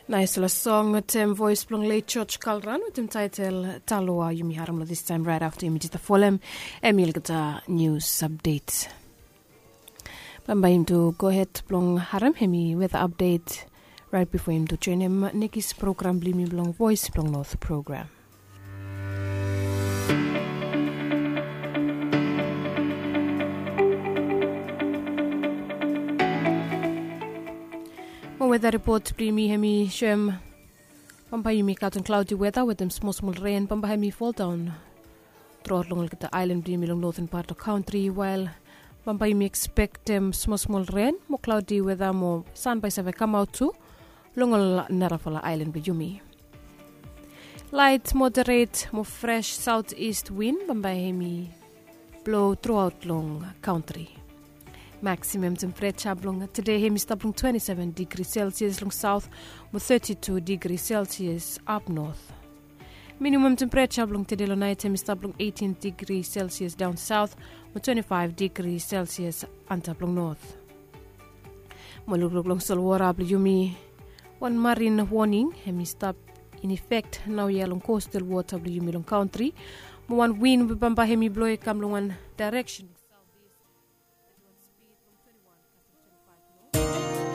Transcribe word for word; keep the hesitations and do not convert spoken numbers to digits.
Naisfala song wetem voes blong leit George Kalran wetem taetel Taloa yumi harim long distaem raet afta yumi jista folem em i olgeta nius apdet. Bambae yumi tu gohed blong harim em i weta apdet raet bifo yumi tu joenem nekis program blong yumi blong voes blong not program. Mo weta ripot blong yumi em i soem bambae yumi katon klaodi weta wetem smosmol ren bambae em i foldaon truaot long olgeta aelan blong yumi long noten pat blong kantri wael bambae yumi ekspektem smosmol ren mo klaodi weta mo san bae save kamaot tu long ol narafala aelan blong yumi. Laet moderet mo fres saot ist win bambae em i blo truaot long kantri. Maksimam tempereja blong tede em i stap long twenti seven digri selsias long saot mo teti tu digri selsias ap not. Minimam tempereja blong tede long naet em i stap long eitin digri selsias daon saot mo twenti faef digri selsias antap long not. Mo lukluk long solwota blong yumi, wan marin woning em i stap in efek naoia long kostal wota blong yumi long kantri mo wan win we bambae em i blo i kam long wan daereksen